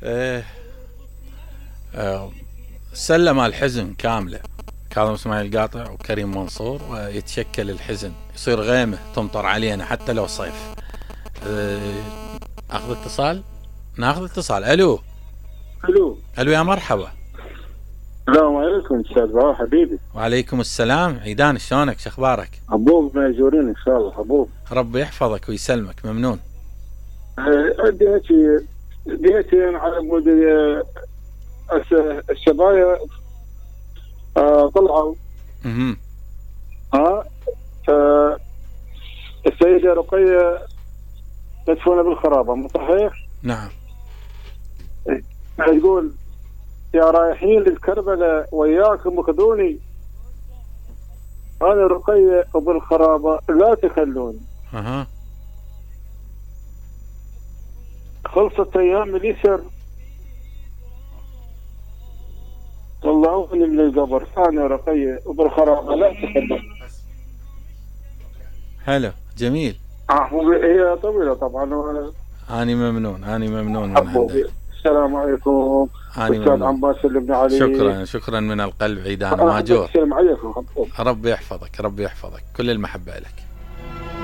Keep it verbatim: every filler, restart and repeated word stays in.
آه آه سلم الحزن كاملة كاظم اسماعيل قاطع وكريم منصور، ويتشكل الحزن، يصير غيمة تمطر علينا حتى لو صيف. آه اخذ اتصال، ناخذ اتصال. الو الو الو يا مرحبا. السلام عليكم استاذ بهاء حبيبي. وعليكم السلام عيدان، شلونك شخبارك؟ حبوب ماجورين ان شاء الله. حبوب ربي يحفظك ويسلمك، ممنون. عندي هيك ديتين على مود الشبايا آه طلعوا اها ها آه السيدة رقية مدفونة بالخرابة، مو صحيح؟ نعم. تقول يا رايحين للكربلة وياكم خذوني، انا رقية وبالخرابة لا تخلوني. اها خلصت ايام اليسر طلعوني من القبر، انا رقية وبالخرابة لا تخلوني. حلو جميل. اه هي طويلة طبعا. اني ممنون، اني ممنون من عندك. السلام عليكم استاذ عباس اللي ابن علي. شكرا شكرا من القلب عيدان ماجور. السلام عليكم. ربي يحفظك، ربي يحفظك، كل المحبة لك.